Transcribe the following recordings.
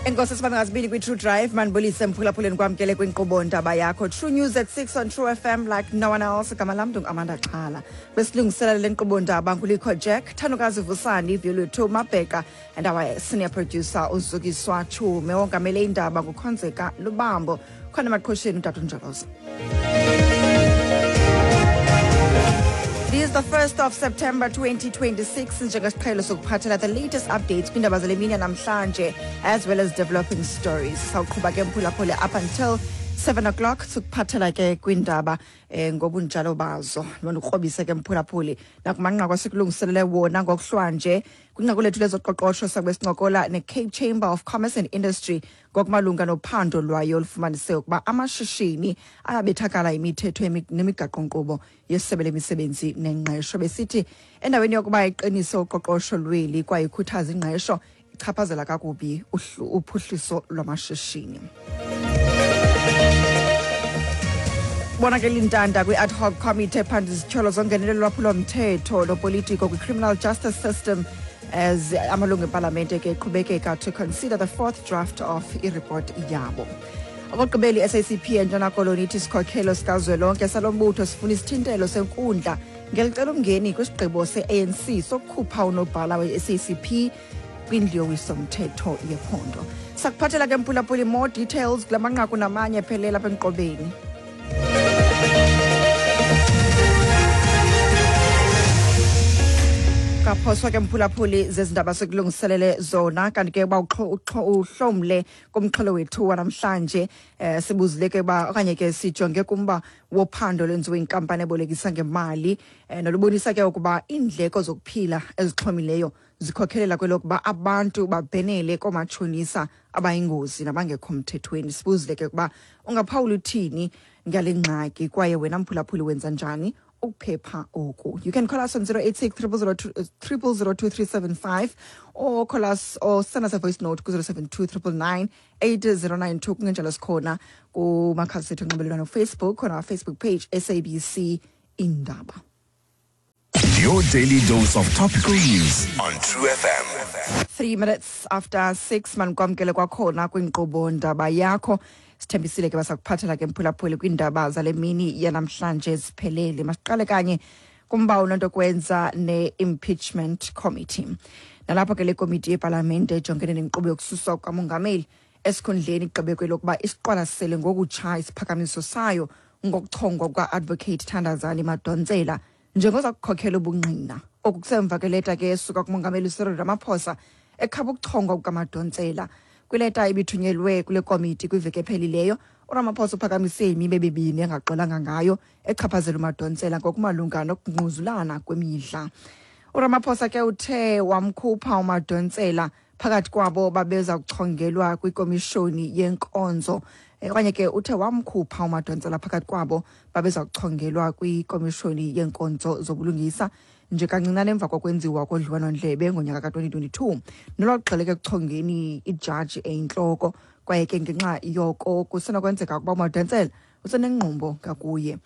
Enkosi sibambe ngazibini kwi-True Drive. Mandibulise mphulaphuleni, kwamkele kwinkqubo Ndaba Yakho, True News at 6 on True FM like no one else. Igama lam ndingu-Amanda Xhala. Besilungiselela le nkqubo ndaba ngulikho Jack Thanukazi, Vusani Vyolwethu Mabheka and our senior producer uZukiswa Chume. Wongamele indaba nguKhonzeka Lubambo, khona emaqhosheni utata uNjolozo. It is the 1st of September 2026. Njengesiqhelo sokuphathela the latest updates kwindaba zale mini namhlanje as well as developing stories. Sawuqhuba ke mphulaphule up until 7 o'clock, sikuphathela ke kwindaba ngobunjalo bazo. Nondikrobise ke mphulaphuli nakumanqaku asikulungiselele wona ngokuhlwanje. Kwinqaku lethu lezoqoqosho sakube sincokola ne-Cape Chamber of Commerce and Industry ngokumalunga nophando lwayo olufumanise ukuba amashishini ayabethakala imithetho nemigaqo-nkqubo yesebe lemisebenzi nengqesho, besithi endaweni yokuba iqinise uqoqosho lweli kwaye ikhuthaza ingqesho, ichaphazela kakubi uphuhliso lwamashishini. Bonakele intanda kwi-ad hoc committee ephanda izityholo zongenelelo lwaphulomthetho lopolitiko kwi-criminal justice system as amalungu epalamente ke eqhubekeka to consider the fourth draft of ireport yabo. Okokugqibela, i-SACP eNtshona Koloni ithi isikhokhelo sikazwelonke salo mbutho sifuna isithintelo senkundla ngelicela umngeni kwisigqibo se-ANC sokukhupha unobhala we-SACP kwindlu yowiso-mthetho yephondo. Sakuphathela ke mphulaphuli more details kula manqaku namanye phelela apha enkqobeni. Kaphoswa ke mphulaphuli zezindaba sekulungiselele zona. Kanti ke uba uhlomle kumxholo wethu wanamhlanje, sibuzile ke uba okanye ke sijonge kumba wophando lwenziwe inkampani ebolekisa ngemali nolubonisa ke ukuba iindleko zokuphila ezixhomileyo zikhokhelela kwelokuba abantu babhenele koomatshonisa abayingozi nabangekho mthethweni. Sibuzile ke ukuba ungaphawula uthini ngale ngxaki, kwaye wena mphulaphuli wenza njani ukuphepha oku. You can call us on 086 000 2375 or call us or send us a voice note ku-072 999 8092. Kungenjalo sikhona kumakhasi ethu onxibelelwano, Facebook, on our Facebook page, SABC Indaba. Your daily dose of topical news on True FM. 6:03, manikwamkele kwakhona kwinkqubo Ndaba Yakho. Sithembisile ke basakuphathela ke mphulaphuli kwiindaba zale mini yanamhlanje ziphelele. Masiqale kanye kumba unonto kwenza ne-impeachment committee, nalapho ke le komiti yepalamente ejongene nenkqubo yokususwa kukamongameli esikhundleni igqibe kwelokuba isiqwalasele ngokutsha isiphakamiso sayo ngokuchongwa kuka-Advocate Thandazani Madonsela njengoza kukhokhela ubungqina. Oku kusemva kweleta ke esuka kumongameli Cyril Ramaphosa ekhaba ukuchongwa kukaMadonsela. Kwileta ibithunyelwe kule komiti kwiveki ephelileyo, uRamaphosa uphakamise imiba emibini engaxolanga ngayo echaphazela uMadonsela ngokumalunga nokungquzulana kwemidla. URamaphosa ke uthe wamkhupha uMadonsela phakathi kwabo babeza kuchongelwa kwikomishoni yenkonzo okanye ke uthe wamkhupha uMadonsela phakathi kwabo babeza kuchongelwa kwikomishoni yenkonzo zobulungisa nje kancinane emva kokwenziwa kodliwano-ndlebe ngonyaka ka-2022 nolwagxileke ekuchongeni ijaji eyintloko, kwaye ke ngenxa yoko kusenokwenzeka ukuba uMadonsela usenengqumbo ngakuye.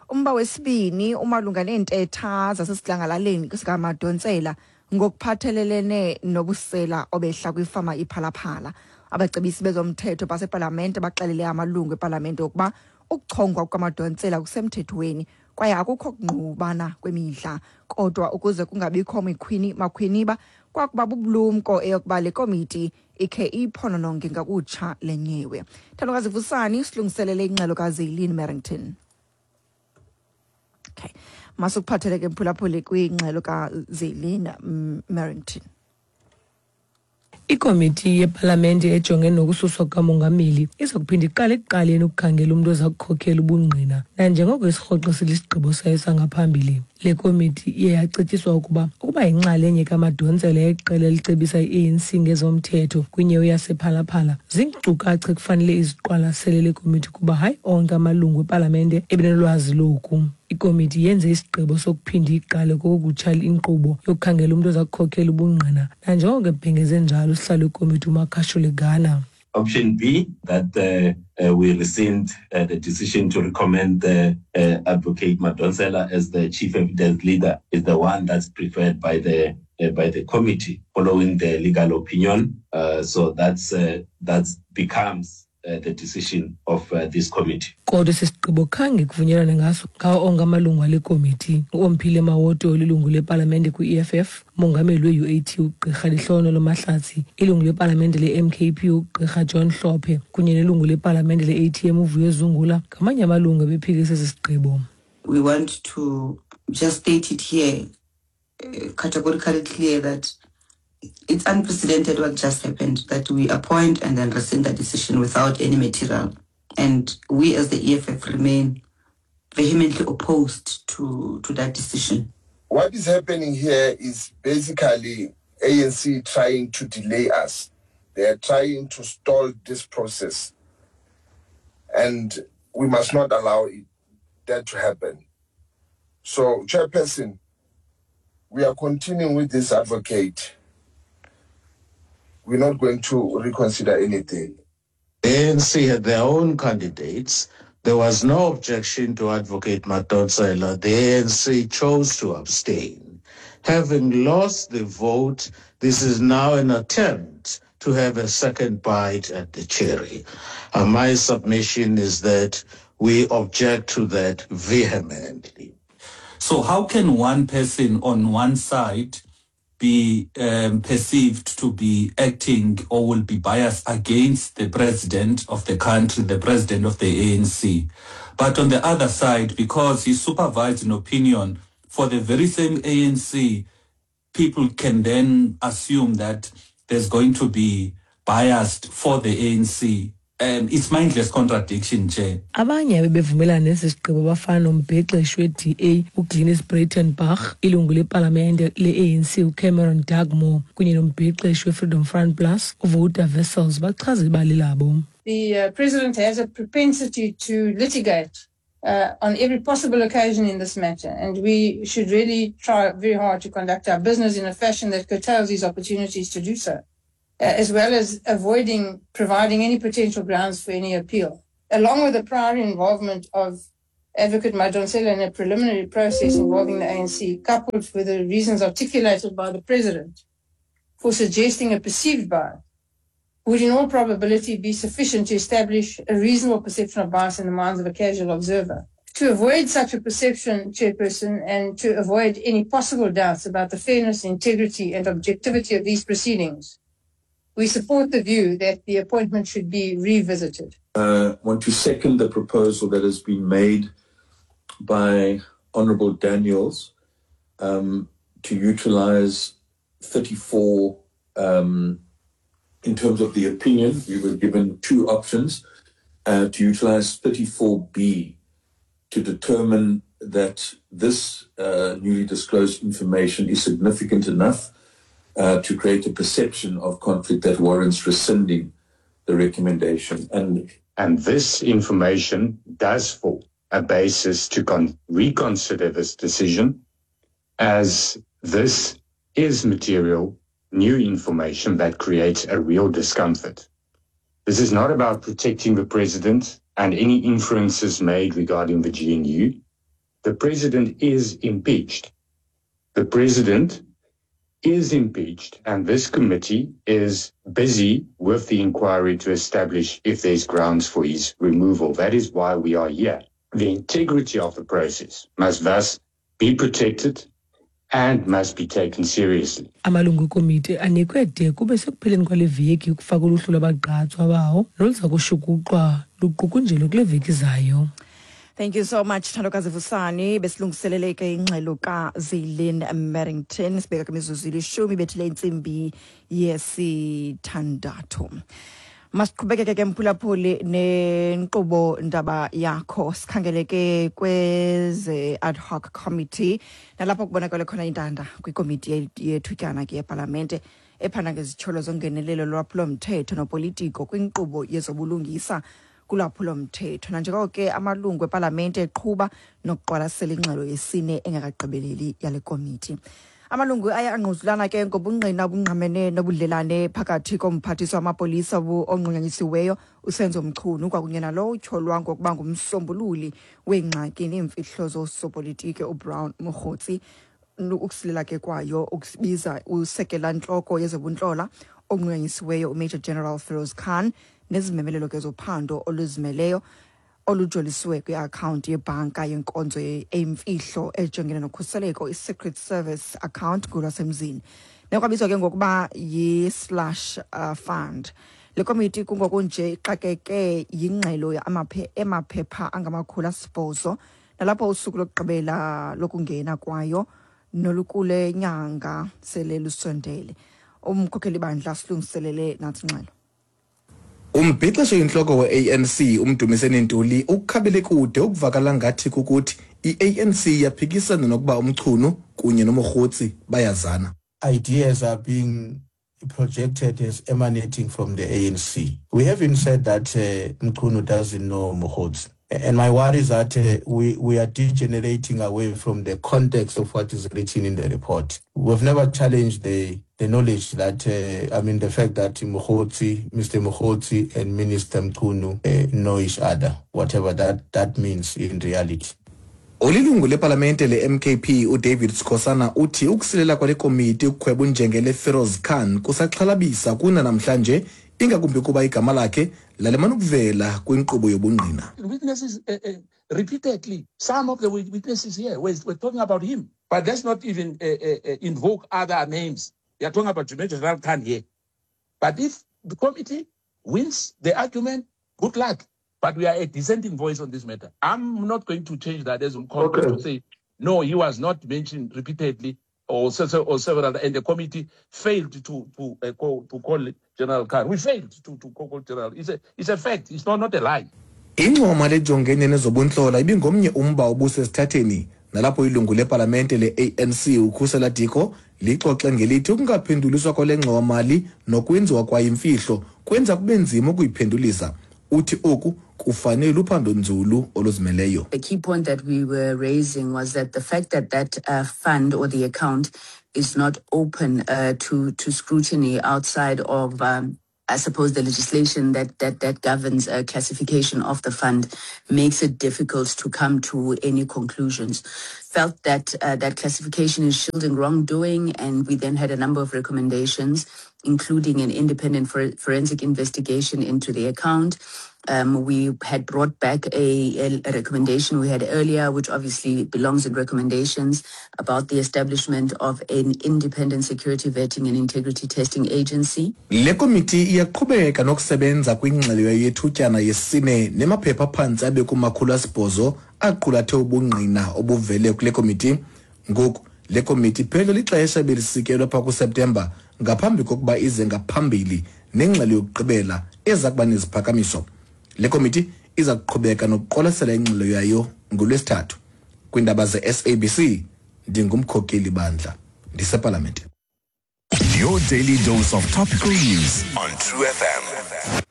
Umba wesibini umalunga neentetha zasesidlangalaleni sikaMadonsela ngokuphathelelene nobusela obehla kwifama iPhalaphala. Abacebisi bezomthetho basepalamente baxelele amalungu epalamente ukuba ukuchongwa kukaMadonsela kusemthethweni kwaye akukho kungqubana kwemidla, kodwa ukuze kungabikho mikhwini makhwiniba kwakuba bubulumko eyokuba le komiti ikhe iyiphonononge ngakutsha le nyewe. Thandokazi Vusani silungiselele ingxelo kaZeylin Merrington. Okay, masukuphathele ke mphulaphuli kwingxelo kaZeylin Merrington. Ikomiti yepalamente ejongene nokususwa kukamongameli iza kuphinda iqale ekuqaleni ukukhangela umntu oza kukhokela ubungqina nanjengoko isirhoxisile isigqibo sayo sangaphambili. Le komiti iye yacetyiswa ukuba yinxalenye kaMadonsela yeqela elicebisa i-ANC ngezomthetho kwinyewe yasePhalaphala. Ziinkcukacha ekufanele iziqwalasele le komiti kuba hayi onke amalungu epalamente ebenolwazi loku. Ikomiti yenze isigqibo sokuphinda iqale kokutsha inkqubo yokukhangela umntu oza kukhokela ubungqina nanjengoko ebhengeze njalo usihlalo wekomiti uMakashule Gana. Option B, that we rescind the decision to recommend the Advocate Madonsela as the chief evidence leader, is the one that's preferred by the by the committee following the legal opinion. So that's that becomes the decision of this committee. Kodwa esi sigqibo khange kuvunyelwane ngaso ngawo onke amalungu ale komiti. UOmphile Mawoto olilungu lepalamente kwi-EFF, umongameli we-UAT uGqirha Lehlono Mahlatsi, ilungu lepalamente le-MKP uGqirha John Hlophe kunye nelungu lepalamente le-ATM uVuyo Zungula ngamanye amalungu ebephikisa esi sigqibo. We want to just state it here categorically clear that it's unprecedented what just happened, that we appoint and then rescind the decision without any material. And we as the EFF remain vehemently opposed to that decision. What is happening here is basically ANC trying to delay us. They are trying to stall this process. And we must not allow that to happen. So, Chairperson, we are continuing with this advocate. We're not going to reconsider anything. The ANC had their own candidates. There was no objection to Advocate Madonsela. The ANC chose to abstain. Having lost the vote, this is now an attempt to have a second bite at the cherry. And my submission is that we object to that vehemently. So how can one person on one side be perceived to be acting or will be biased against the president of the country, the president of the ANC? But on the other side, because he supervised an opinion for the very same ANC, people can then assume that there's going to be biased for the ANC. It's mindless contradiction, Chair. Abanye abebevumelana nesi sigqibo bafana nombhexeshi we-DA uGlynnis Breytenbach, ilungu lepalamente le-ANC uCameron Dugmore kunye nombhexeshi we-Freedom Front Plus uWouter Wessels bachaza ibali labo. The president has a propensity to litigate on every possible occasion in this matter, and we should really try very hard to conduct our business in a fashion that curtails his opportunities to do so, as well as avoiding providing any potential grounds for any appeal. Along with the prior involvement of Advocate Madonsela in a preliminary process involving the ANC, coupled with the reasons articulated by the president for suggesting a perceived bias, would in all probability be sufficient to establish a reasonable perception of bias in the minds of a casual observer. To avoid such a perception, Chairperson, and to avoid any possible doubts about the fairness, integrity, and objectivity of these proceedings, we support the view that the appointment should be revisited. I want to second the proposal that has been made by Honourable Daniels to utilise 34 in terms of the opinion. We were given two options, to utilise 34B to determine that this newly disclosed information is significant enough to create a perception of conflict that warrants rescinding the recommendation. And this information does form a basis to reconsider this decision, as this is material, new information that creates a real discomfort. This is not about protecting the president and any inferences made regarding the GNU. The president is impeached. The president is impeached, and this committee is busy with the inquiry to establish if there's grounds for his removal. That is why we are here. The integrity of the process must thus be protected and must be taken seriously. Amalungu ekomiti anikwe de kube sekupheleni kwale veki ukufaka uluhlu lwabagqatswa bawo noluza kushukuxwa luqukunjelwe kule veki zayo. Thank you so much, Thandokazi Vusani. Besilungiselele ke ingxelo kaZilin Merrington. Sibeka kwimizuzu 10 bethile intsimbi 6. Masiqhubekeke ke mphulaphuli nenkqubo ndaba yakho. Sikhangele ke kweze ad hoc committee nalapho kubonakala khona intanda kwikomiti yethutyana ke yepalamente ephanda ngezityholo zongenelelo lwaphulo-mthetho nopolitiko kwinkqubo yezobulungisa kulwaphulo-mthetho. Nanjengoko ke amalungu epalamente eqhuba nokuqwalasela ingxelo yesine engekagqibeleli yale komiti. Amalungu aye angquzulana ke ngobungqina obungqamene nobudlelane phakathi komphathiswa wamapolisa onqunyanyisiweyo uSenzo Mchunu kwakunye nalowo utyholwa ngokuba ngumsombululi weengxaki neemfihlo zosopolitiki uBrown Mogotsi. Ukusilela ke kwayo ukusibiza usekela ntloko yezobuntlola onqunyanyisiweyo uMajor General Feroz Khan nezimemelelo ke zophando oluzimeleyo olujoliswe kwiakhawunti yebhanka yenkonzo eyimfihlo ejongene nokhuseleko, i-Secret Service account ngolwasemzini, nekwabizwa ke ngokuba yi-slush fund. Le komiti kungokunje ixakeke yingxelo emaphepha angama-800, nalapho usuku lokugqibela lokungena kwayo nolukule nyanga sele lusondele. Umkhokheli bandla silungiselele nathi ingxelo. Umbhexesho inhloko we-ANC uMdumiseni Ntuli ukukhabele kude ukuvakala ngathi kukuthi i-ANC yaphikisana nokuba uMchunu kunye noMogotsi bayazana. Ideas are being projected as emanating from the ANC. We haven't said that Mchunu doesn't know Mogotsi. And my worry is that we are degenerating away from the context of what is written in the report. We've never challenged the knowledge that, I mean, the fact that Mogotsi, Mr. Mogotsi and Minister Mchunu know each other, whatever that means in reality. Olilungu lepalamente le-MKP uDavid Sikhosana uthi ukusilela kwale komiti ukukhweba unjengele Feroz Khan kusaxhalabisa kuna namhlanje, ingakumbi kuba igama lakhe lalimana ukuvela kwinkqubo yobungqina. Witnesses repeatedly, some of the witnesses here were talking about him, but let's not even invoke other names. We are talking about Major General Khan here. But if the committee wins the argument, good luck. But we are a dissenting voice on this matter. I'm not going to change that as okay. To say, no, he was not mentioned repeatedly or several, and the committee failed to call General Khan. We failed to call General. It's a fact. It's not a lie. Ingxowa lejongene nezobuntlola ibingomnye umba obusesithatheni, nalapho ilungu lepalamente le-ANC uKhusela Diko lixoxe ngelithi ukungaphenduliswa kwale ngxowa-mali nokwenziwa kwayo imfihlo kwenza kube nzima ukuyiphendulisa. Uthi oku kufanele uphando nzulu oluzimeleyo. The key point that we were raising was that the fact that fund or the account is not open to scrutiny outside of, I suppose, the legislation that governs classification of the fund makes it difficult to come to any conclusions. Felt that that classification is shielding wrongdoing, and we then had a number of recommendations, including an independent forensic investigation into the account. We had brought back a recommendation we had earlier, which obviously belongs in recommendations, about the establishment of an independent security vetting and integrity testing agency. Le komiti iyaqhubeka nokusebenza kwingxelo yethutyana yesine nemaphepha phantsi abe kuma-800 aqulathe ubungqina obuvele kule komiti. Ngoku le komiti iphele lixesha belisikelwe pha kuSeptemba ngaphambi kokuba ize ngaphambili nengxelo yokugqibela eza kuba neziphakamiso. Le komiti iza kuqhubeka nokuqwalasela ingxelo yayo ngoLwesithathu. Kwiindaba ze-SABC, ndingumkhokeli bandla ndisepalamente. Your daily dose of topical news on True FM.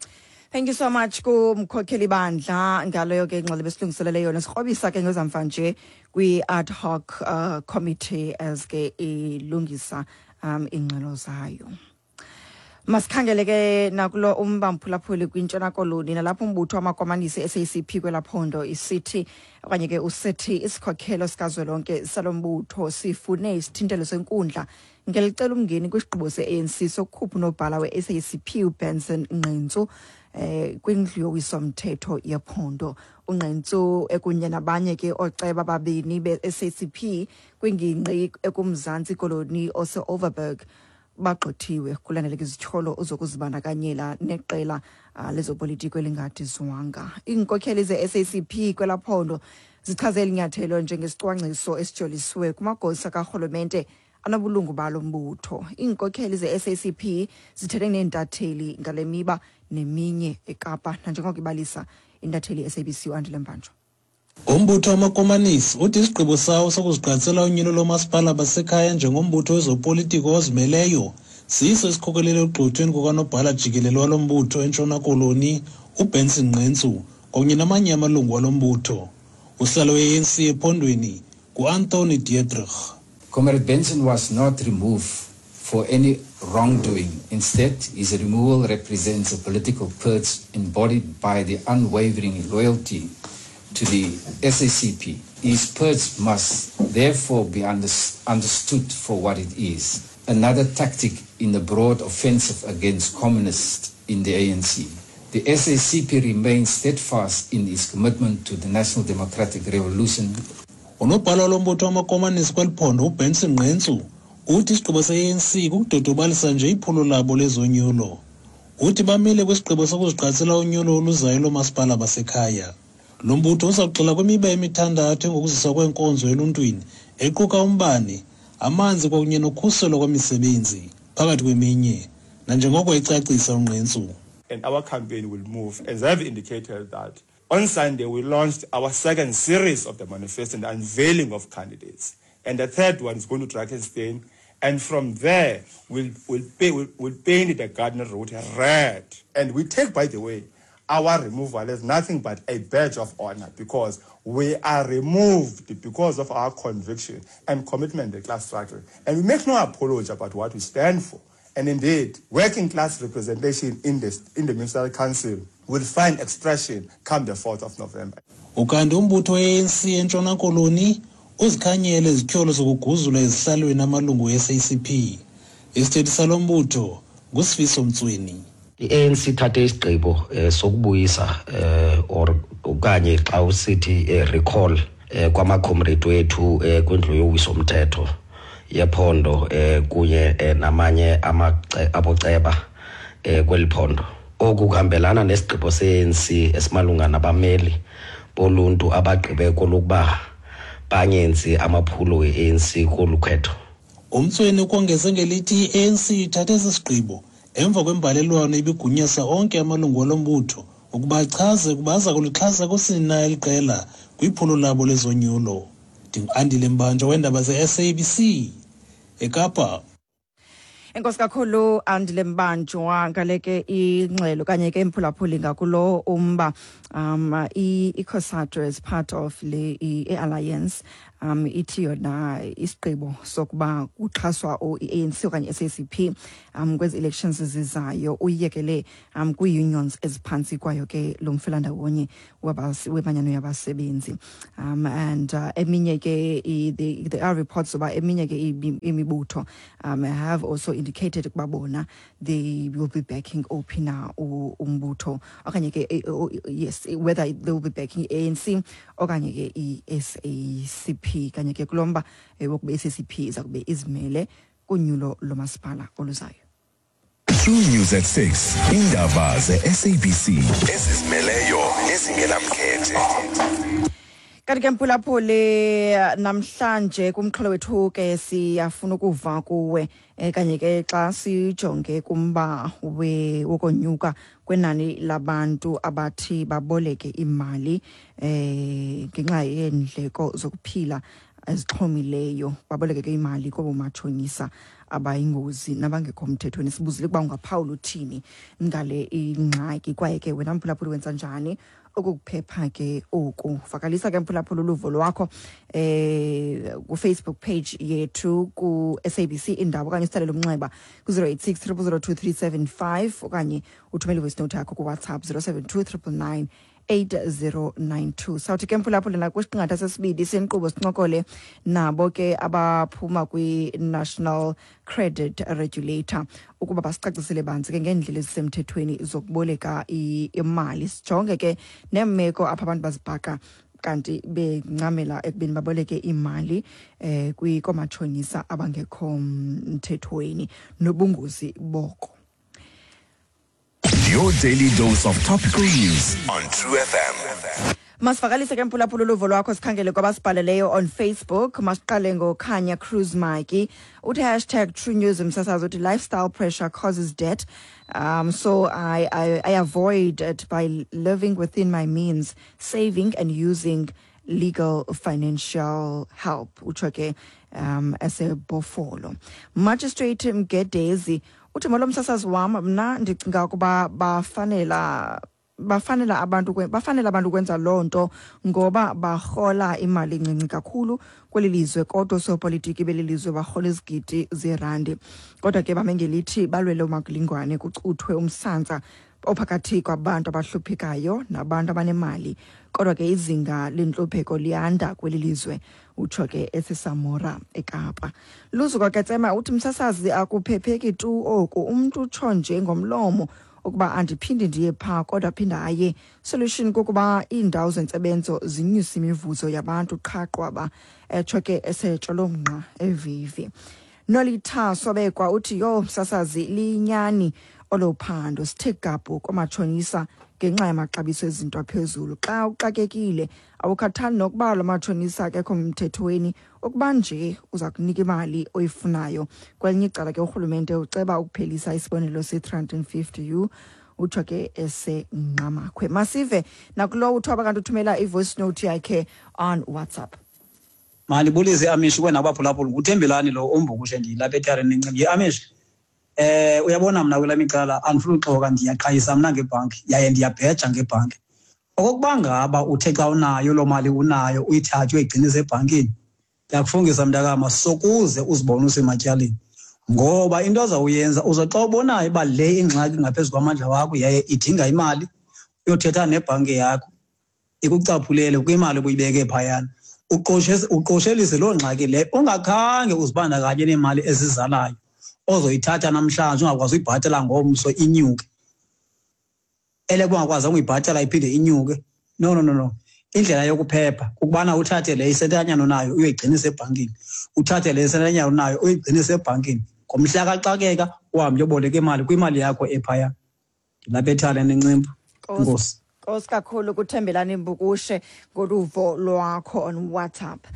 Thank you so much kumkhokheli bandla ngaleyo ke ingxelo besilungiselele yona. Sikrobisa ke ngezamva nje kwi-ad hoc committee as ke ilungisa ingxelo zayo. Masikhangele ke nakulo umba, mphulaphuli, kwiNtshona Koloni, nalapho umbutho wamakomanisi SACP kwelaphondo isithi okanye ke usithi isikhokhelo sikazwelonke salo mbutho sifune isithintelo senkundla ngelicela umngeni kwisigqibo se-ANC sokukhupha unobhala we-SACP uBenson Nqentsu kwindlu yowiso-mthetho yephondo. UNqentsu ekunye nabanye ke ooceba ababini be-SACP kwingingqi ekuMzantsi Koloni ose-Overberg bagxothiwe kulandela izityholo zokuzibandakanyela neqela lezopolitiko elingadizwanga. Iinkokheli ze-SACP kwelaphondo zichaze eli nyathelo njengesicwangciso esijoliswe kumagosa karhulumente anobulungu balo mbutho. Iinkokheli ze-SACP zithethe neentatheli ngale miba neminye eKapa, nanjengoko ibalisa intatheli ye-SABC uAndile Mbanjwa. Umbutho wamakomanisi uthi isigqibo sawo sokuzigqatsela unyulo lomasipala basekhaya njengombutho wezopolitiko ozimeleyo siso esikhokelele ekugxothweni kukanobhala jikelele walo mbutho eNtshona Koloni uBenson Nqentsu kunye namanye amalungu walo mbutho. Usihlalo we-ANC ephondweni nguAnthony Dietrich. Comrade Benson was not removed for any wrongdoing. Instead, his removal represents a political purge embodied by the unwavering loyalty to the SACP. His purge must therefore be understood for what it is, another tactic in the broad offensive against communists in the ANC. The SACP remains steadfast in its commitment to the National Democratic Revolution. Unobhala lombutho wamakomanisi kweli phondo uBenson Ngqentsu uthi isigqibo se-ANC kukudodobalisa nje iphulo labo lezonyulo. Uthi bamile kwisigqibo sokuzigqatsela unyulo oluzayo loomasipala basekhaya. Lo mbutho uza kugxila kwimiba emithandathu engokuziswa kweenkonzo eluntwini equka umbane, amanzi kwakunye nokhuselo kwemisebenzi, phakathi kweminye, nanjengoko ecacisa uNgqentsu. And our campaign will move, as I've indicated that on Sunday we launched our second series of the manifesto and the unveiling of candidates. And the third one is going to Drakenstein. And from there, we'll paint the Garden Route red. And we take, by the way, our removal as nothing but a badge of honor, because we are removed because of our conviction and commitment to the class struggle. And we make no apology about what we stand for. And indeed, working class representation in the Municipal Council will find expression come the 4th of November. Ukanti umbutho we-ANC eNtshona Koloni uzikhanyele izityholo zokuguzula ezihlalweni amalungu e-SACP. Isithethi salo mbutho nguSifiso Mtsweni. I-ANC ithathe isigqibo sokubuyisa or okanye xa usithi recall kwamacomrade wethu kwindlu yowiso mthetho yephondo kunye namanye aboceba kweli phondo. Oku kuhambelana nesigqibo se-ANC esimalunga nabameli boluntu abagqibe kolokuba bangenzi amaphulo we-ANC kolu khetho. UMtsweni ukongeze ngelithi i-ANC ithathe esi sigqibo emva kwembalelwano ibigunyasa onke amalungu walo mbutho ukuba achaze ukuba aza kulixhasa kusini na eli qela kwiphulo labo lezonyulo. NdinguAndile Mbanjwa weendaba ze-SABC eKapa. Enkosi kakhulu, Andile Mbanjwa, ngale ke ingxelo kanye ke mphulaphuli ngakulo umba. I-COSATU as part of le i-alliance ithi yona isigqibo sokuba kuxhaswa i-ANC okanye SACP kwezi elections zizayo uyiyekele kwii-unions eziphantsi kwayo ke lo mfelandawonye wemanyano yabasebenzi. And eminye ke there are reports uba eminye ke imibutho have also indicated ukuba bona they will be backing ophi na umbutho okanye ke yes, whether they will be backing i-ANC okanye ke i-SACP kanye ke kulo mba wokuba i-SACP iza kube izimele kunyulo lomasipala oluzayo. True News at 6. Indaba ze-SABC ezizimeleyo nezingenamkhethe. Kanti ke mphulaphuli, namhlanje kumxholo wethu ke siyafuna ukuva kuwe kanye ke xa sijonge kumba wokonyuka kwenani labantu abathi baboleke imali ngenxa yeendleko zokuphila ezixhomileyo, baboleke ke imali koomatshonisa abayingozi nabangekho mthethweni. Sibuzile ukuba ungaphawula uthini ngale ingxaki, kwaye ke wena mphulaphuli wenza njani ukukuphepha ke oku? Vakalisa ke mphulaphula uluvo lwakho ku-Facebook page yethu ku-SABC Indaba okanye usithalele umnxeba ku-086 0002375 okanye uthumele ivoice note yakho kuWhatsApp 072 999 8092. Sawuthi ke mphulaphula nakwisiqingatha sesibini senkqubo sincokole nabo ke abaphuma kwi-National Credit Regulator ukuba basicacisele banzi ke ngeendlela ezisemthethweni zokuboleka imali, sijonge ke neemeko apho abantu bazibhaqa kanti bencamela ekubeni baboleke imali koomatshonisa abangekho mthethweni nobungozi boko. Your daily dose of topical news on True FM. Masivakalise ke mphulaphula uluvo lwakho, sikhangele kwabasibhaleleyo on Facebook. Masiqale ngoKhanya Cruz Maki, uthi #TrueNews msasazi, uthi lifestyle pressure causes debt, so I avoid it by living within my means, saving and using legal financial help. Utsho ke esebhofolo. Magistrate Mgedezi uthi molo msasazi wam, mna ndicinga ukuba bafanela Bafanela abantu bafanele abantu ukwenza loo nto ngoba barhola imali encinci kakhulu kweli lizwe, kodwa oosopolitiki beli lizwe barhola izigidi zeerandi. Kodwa ke bame ngelithi balwele umakulingwane, kucuthwe umsantsa ophakathi kwabantu abahluphekayo nabantu abanemali, kodwa ke izinga lentlupheko liyanda kweli lizwe, utsho ke eseSamora eKapa. Luzuko Ketsema uthi, msasazi, akuphepheki tu oku. Umntu utsho nje ngomlomo ukuba andiphindi ndiye phaa, kodwa aphinda aye. Solution kukuba iindawo zentsebenzo zinyuse imivuzo yabantu qha qwaba, etsho ke eseTsholomnqa eVivi. Nolitha Sobekwa uthi, yho msasazi, liyinyani olo phando, sithe gabhu koomatshonisa ngenxa yamaxabiso ezinto aphezulu. Xa uxakekile awukhathali nokuba lo matshonisa akekho mthethweni, ukuba nje uza kunika imali oyifunayo. Kwelinye icala ke urhulumente uceba ukuphelisa isibonelo se-350 u, utsho ke eseNgqamakhwe. Masive nakulowo uthiwa kanti uthumela i-voice note yakhe on WhatsApp. Mandibulise Amish kwena abaphulaphula. Nguthembelani lo umbukushe, ndilapha etareni encimbi ye-Amish. Uyabona mna kwelami icala andifuni uxoka, ndiyaqhayisa mna ngebhanki yaye ndiyabheja ngebhanki. Okokuba ngaba uthe xa unayo loo mali unayo uyithathe uyoyigcinisa ebhankini, ndiyakufungisa mntakama, sokuze uzibone usematyaleni, ngoba into azawuyenza uze xa ubonayo uba le ingxaki ngaphezu kwamandla wakho yaye idinga imali, uyothetha nebhanki yakho ikucaphulele kwimali obuyibeke phayana, uqoshelise loo ngxaki leyo ungakhange uzibandakanye neemali ezizalayo ozoyithatha namhlanje ungakwazi uyibhatala ngomso, inyuke ele kungakwazi ukuyibhatala iphinde inyuke. No, no, no, no, indlela yokuphepha kukubana uthathe le isentanyana onayo uyoyigcinisa ebhankini, uthathe le isentanyana onayo uyigcinise ebhankini, ngomhla kaxakeka uhambe uyoboleka imali kwimali yakho ephaya. Ndilapha ethala nencimbu. Enkosi. Nkosi kakhulu kuThembelani Mbukushe ngoluvo lwakho on WhatsApp.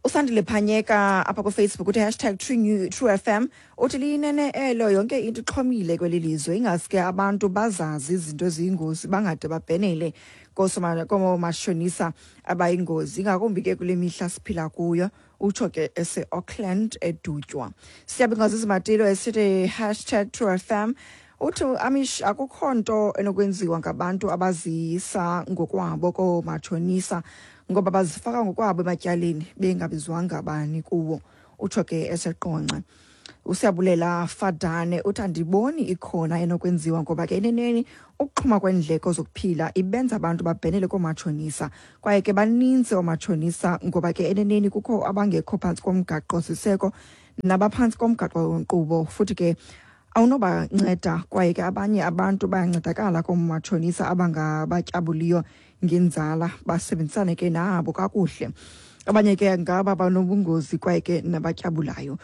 Usandile Phanyeka apha kuFacebook uthi hashtag True, New, True FM, uthi liyinene elo, yonke into ixhomile kweli lizwe, ingaske abantu bazazi izinto eziyingozi bangade babhenele koomashonisa abayingozi, ingakumbi ke kule mihla siphila kuyo, utsho ke ese-Auckland eDutywa. Siyabingazizi Matilo esithi hashtag True FM, uthi Amish, akukho nto enokwenziwa ngabantu abaziyisa ngokwabo koomatshonisa ngoba bazifaka ngokwabo ematyaleni bengabizwanga bani kuwo, utsho ke eseQonce. Usiyabulela Fadane uthi andiboni ikhona enokwenziwa ngoba ke eneneni ukuxhuma kweendleko zokuphila ibenza abantu babhenele koomatshonisa, kwaye ke baninzi oomatshonisa ngoba ke eneneni kukho abangekho phantsi komgaqo siseko nabaphantsi komgaqo nkqubo, futhi ke awunobanceda, kwaye ke abanye abantu bayancedakala koomatshonisa abangabatyabuliyo ngenzala, basebenzisane ke nabo kakuhle. Abanye ke ngaba banobungozi kwaye ke nabatyabulayo.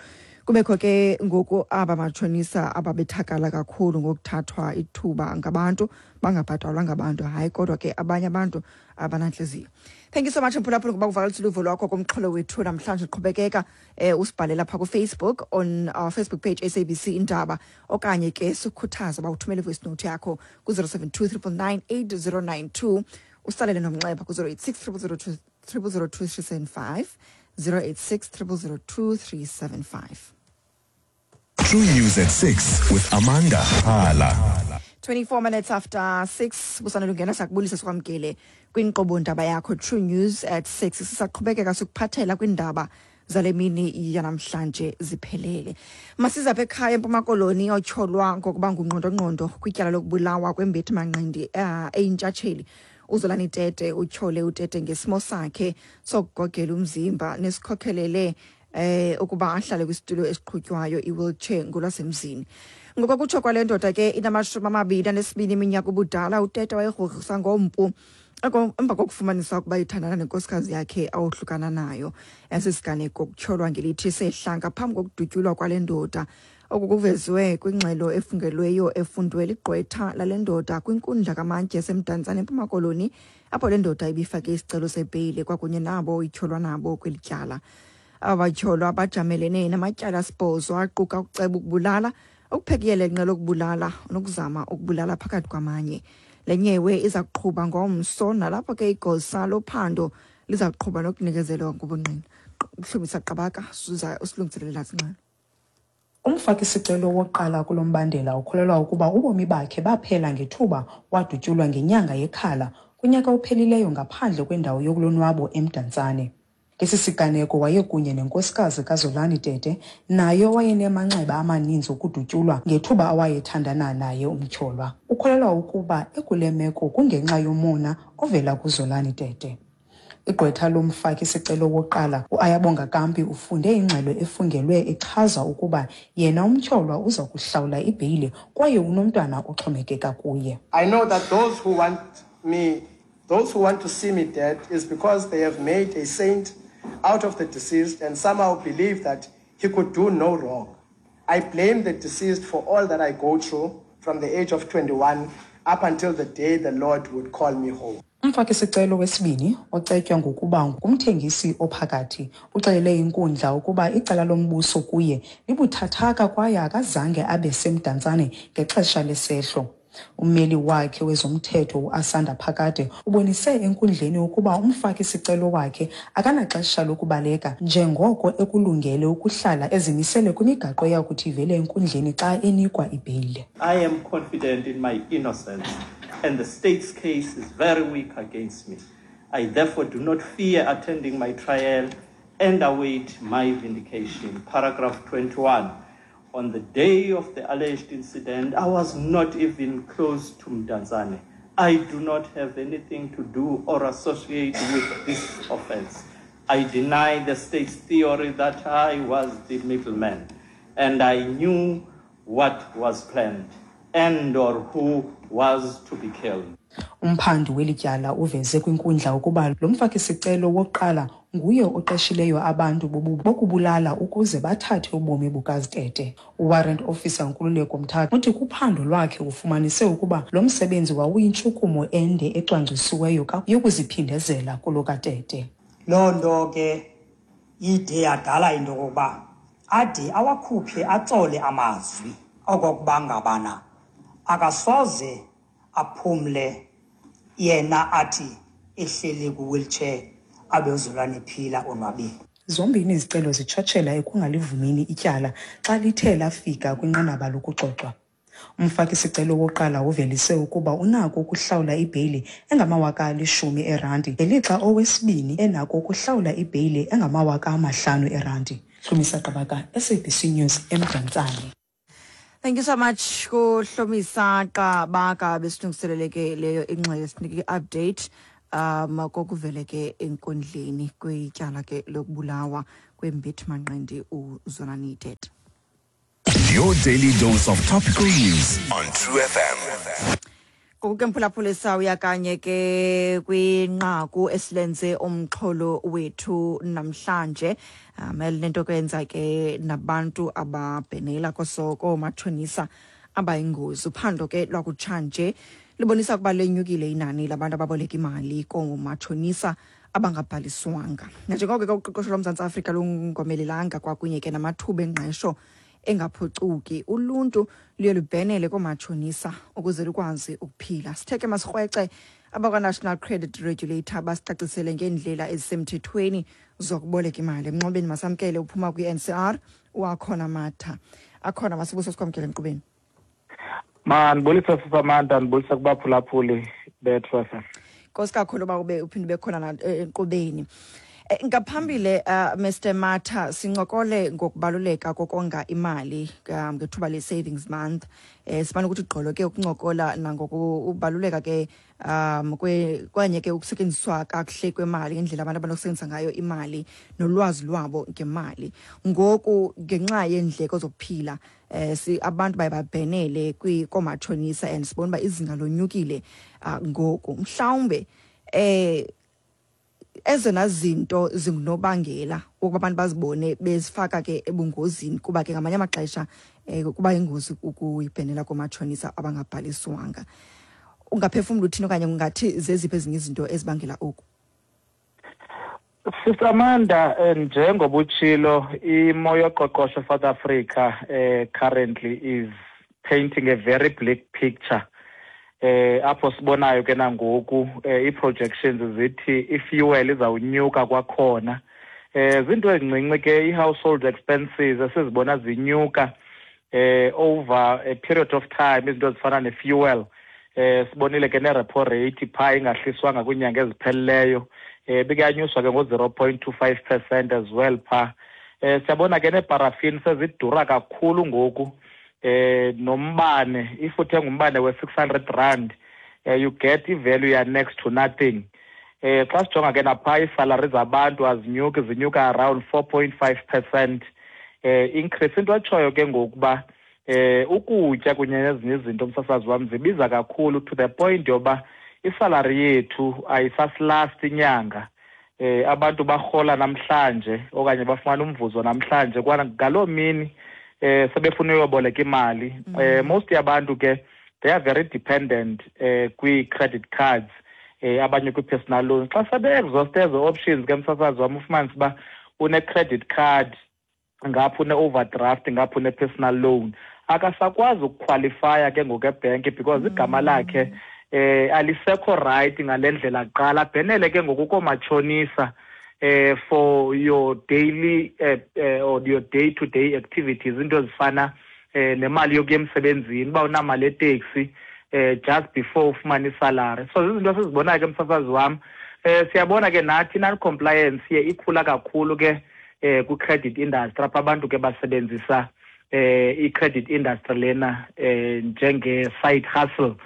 Kubekho ke ngoku aba matshonisa ababethakala kakhulu ngokuthathwa ithuba ngabantu bangabhatalwa ngabantu. Hayi, kodwa ke abanye abantu abanantliziyo. Thank you so much mphulaphula ngoba kuvakalisa uluvo lwakho kumxholo wethu namhlanje. Qhubekeka usibhalela phaa kuFacebook on our Facebook page SABC Indaba, okanye ke sikhuthaza uba uthumele ivoice note yakho ku-072 999 8092, usalele nomnxeba ku-086 002 002 086 002 375. True News at 6 with Amanda Hala. 24 minutes after 6, busanele ungena, sakubulisa sikwamkele kwinkqubo ndaba yakho True News at 6. Sisaqhubekeka sikuphathela kwindaba zale mini yanamhlanje ziphelele. Masiza apha ekhaya eMpuma Koloni. Otyholwa ngokuba ngungqondongqondo kwityala lokubulawa kwembethi manqindi eyintshatsheli uZolani Tete utyhole uTete ngesimo sakhe sokugogela umzimba nesikhokhelele ukuba ahlale kwisitulo esiqhutywayo, i-wheelchair ngolwasemzini. Ngokokutsho kwale ndoda ke inama-22 iminyaka ubudala, uTete wayegrogrisa ngompu emva kokufumanisa ukuba ithandana nenkosikazi yakhe awohlukana nayo. Esi siganeko kutyholwa ngelithi sehla ngaphambi kokudutyulwa kwale ndoda. Oku kuvezwe kwingxelo efungelweyo efundwe ligqwetha lale ndoda kwinkundla kamantyi yaseMdantsane eMpuma Koloni, apho le ndoda ibifake isicelo sebheyile kwakunye nabo ityholwa nabo kweli tyala. Aba batyholwa bajamelene namatyala asibhozo aquka ukuceba ukubulala, ukuphekuyela inqe lokubulala nokuzama ukubulala phakathi kwamanye. Le nyewe iza kuqhuba ngomso, nalapho ke igosa lophando liza kuqhuba nokunikezelwa ngobungqina. Uhlumisa Qabaka usilungiselela ingxelo. Umfaki-sicelo wokuqala kulo mbandela ukholelwa ukuba ubomi bakhe baphela ngethuba wadutyulwa ngenyanga yeKhala kunyaka ophelileyo ngaphandle kwendawo yokulonwabo eMdantsane. Ngesi siganeko wayekunye nenkosikazi kaZolani Tete, naye owayenemanxeba amaninzi okudutyulwa ngethuba awayethandana naye umtyholwa. Ukholelwa ukuba ekule meko kungenxa yomona ovela kuZolani Tete. Igqwetha lomfaki-sicelo wokuqala uAyabonga Kampi ufunde ingxelo efungelwe echaza ukuba yena umtyholwa uza kuhlawula ibheyile kwaye unomntwana oxhomekeka kuye. I know that those who want me, those who want to see me dead is because they have made a saint out of the deceased and somehow believe that he could do no wrong. I blame the deceased for all that I go through from the age of 21 up until the day the Lord would call me home. Umfaki-sicelo wesibini, ocetywa ngokuba ngumthengisi ophakathi, uxelele inkundla ukuba icala lombuso kuye libuthathaka kwaye akazange abe seMdantsane ngexesha lesehlo. Ummeli wakhe wezomthetho uAsanda Phakade ubonise enkundleni ukuba umfaki-sicelo wakhe akanaxesha lokubaleka njengoko ekulungele ukuhlala ezimisele kwimigaqo eyakuthi ivele enkundleni xa enikwa ibheyile. I am confident in my innocence and the state's case is very weak against me. I therefore do not fear attending my trial and await my vindication. Paragraph 21. On the day of the alleged incident, I was not even close to Mdantsane. I do not have anything to do or associate with this offense. I deny the state's theory that I was the middleman and I knew what was planned and or who was to be killed. Umphandi weli tyala uveze kwinkundla ukuba lo mfaki-sicelo wokuqala nguye oqeshileyo abantu bokubulala ukuze bathathe ubomi bukaZitete. UWarrant Officer Nkululeko Mthatha uthi kuphando lwakhe ufumanise ukuba lo msebenzi wawuyintshukumo ende ecwangcisiweyo yokuziphindezela kulo kaTete. Loo nto ke ide yadala into yokokuba ade awakhuphe atsole amazwi okokuba ngabana akasoze aphumle yena athi ehleli kwi-wheelchair abe uZolani ephila onwabile. Zombini izicelo zitshatshela ekungalivumini ityala xa lithe lafika kwinqanaba lokuxoxwa. Umfaki-sicelo wokuqala uvelise ukuba unako ukuhlawula ibheyile engama-10 000 eerandi ngelixa owesibini enako ukuhlawula ibheyile engama-5 000 eerandi. Hlumisa Qabaka, SABC News, eMdantsane. Thank you so much kuHlomisa Qabaka, besilungiselele ke leyo ingxelo, sinike i-update kokuvele ke enkundleni kwityala ke lokubulawa kwembethi manqindi uZolani Tete. Your daily dose of topical news on True FM. Ngoku ke, mphulaphuli, sawuya kanye ke kwinqaku esilenze umxholo wethu namhlanje, elinento kwenza ke nabantu ababhenela koomatshonisa abayingozi. Uphando ke lwakutshanje libonisa ukuba lenyukile inani labantu ababoleka imali koomatshonisa abangabhaliswanga, nanjengoko ke uqoqosho loMzantsi Afrika lungomelelanga kwakunye ke namathuba engqesho engaphucuki, uluntu luye lubhenele koomatshonisa ukuze lukwazi ukuphila. Sithe ke masikrwece abakwa-National Credit Regulator basicacisele ngeendlela ezisemthethweni zokuboleka imali. Emnxebeni masamkele uphuma kwi-NCR, uAkhona Matha. Akhona, masibuso sikwamkele enkqubeni. Mandibulise, Sisamanda, ndibulise kubaphulaphuli beTru FM. Nkosi kakhulu uba ube uphinde ube khona enkqubeni. Ngaphambili, Mr Matha, sincokole ngokubaluleka kokonga imali ngethuba le-savings month. Sifana ukuthi gqolo ke ukuncokola nangokubaluleka ke kanye ke ukusetyenziswa kakuhle kwemali, ngendlela abantu abanokusebenzisa ngayo imali nolwazi lwabo ngemali. Ngoku ngenxa yeendleko zokuphila, si abantu baye babhenele koomatshonisa and sibona uba izinga lonyukile. Ngoku mhlawumbe ezona zinto zingunobangela ukuba abantu bazibone bezifaka ke ebungozini, kuba ke ngamanye amaxesha kuba yingozi ukuyibhenela koomatshonisa abangabhaliswanga, ungaphefumla uthini okanye ungathi zeziphi ezinye izinto ezibangela oku? Sisamanda, njengoba utshilo, imo yoqoqosho South Africa currently is painting a very bleak picture, apho sibonayo ke nangoku ii-projections zithi i-fuel izawunyuka kwakhona. Zinto ezincinci ke, i-household expenses esizibona zinyuka. Over a period of time, izinto ezifana ne-fuel, sibonile ke ne-repo rate phaa ingahliswanga kwiinyanga ezipheleleyo, bikuyanyuswa ke ngo-0.25% as well phaa. Siyabona ke neeparafini sezidura kakhulu ngoku, nombane. If uthenga umbane we-600 rand, you get i-value ya next to nothing. Xa sijonga ke naphaa, iisalari zabantu azinyuki, zinyuka around 4.5% increase. Into etshoyo ke ngokuba ukutya kunye nezinye izinto, umsasazi wam, zibiza kakhulu to the point yoba isalari yethu ayisasilast inyanga. Abantu barhola namhlanje okanye bafumana umvuzo namhlanje, kwana ngaloo mini sebefuna uyoboleka imali. Most yabantu ke, they are very dependent kwii-credit cards, abanye kwi-personal loans. Xa sebe-exhaust ezo options ke, msasazi wam, ufumanise uba une-credit card ngapha, une-overdraft ngapha, une-personal loan, akasakwazi ukukhwalifaya ke ngoku ebhenki because igama lakhe alisekho right ngale ndlela kuqala. Abhenele ke ngoku koomatshonisa for your daily or your day to day activities, into ezifana nemali yokuya emsebenzini, uba unamali eteksi just before ufumane isalary. So zizinto esizibonayo ke, msasazi wam. Siyabona ke nathi non-compliance ye ikhula kakhulu ke kwi-credit industry, apha abantu ke basebenzisa i-credit industry lena njenge-side hustle.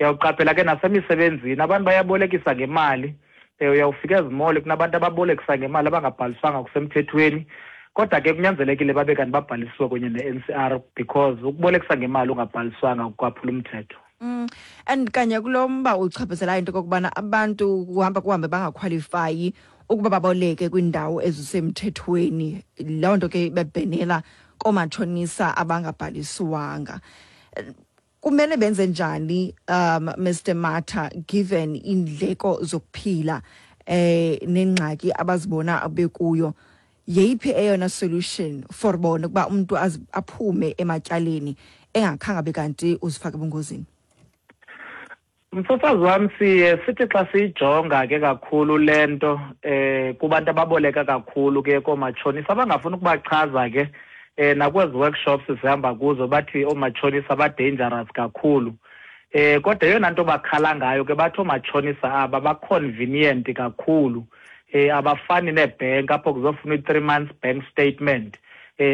Uyawuqaphela ke nasemisebenzini abantu bayabolekisa ngemali. Uyawufika ezimall, kunabantu ababolekisa ngemali abangabhaliswanga kusemthethweni, kodwa ke kunyanzelekile babe kanti babhalisiwe kunye ne-NCR, because ukubolekisa ngemali ungabhaliswanga kukwaphula umthetho. And kanye kulo mba uchaphazelayo, into okokubana abantu kuhamba kuhambe bangakhwalifayi ukuba baboleke kwiindawo ezisemthethweni, loo nto ke bebhenela koomatshonisa abangabhaliswanga, kumele benze njani, Mr Matha, given indleko zokuphila nengxaki abazibona bekuyo? Yeyiphi eyona solution for bona ukuba umuntu aphume ematyaleni engakhange abe kanti uzifake ebungozini? Msasazi wam, siye sithi xa siyijonga ke kakhulu le nto kubantu ababoleka kakhulu ke koomatshonisa, abangafuni ukubachaza ke nakwezi workshops sihamba kuzo, bathi oomatshonisa ba-dangerous kakhulu. Kodwa eyona nto bakhala ngayo ke, bathi oomatshonisa aba ba-convenient kakhulu. Abafani neebhenki apho kuzofunwa i-3 months bank statement,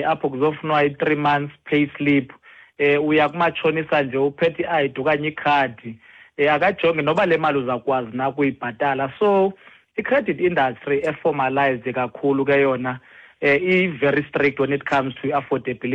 apho kuzofunwa i-3 months pay slip. Uya kumatshonisa nje uphethe i-ID okanye ikhadi, akajongi noba le mali uzawukwazi na ukuyibhatala. So i-credit industry eformalized kakhulu ke yona i-very strict when it comes to affordability.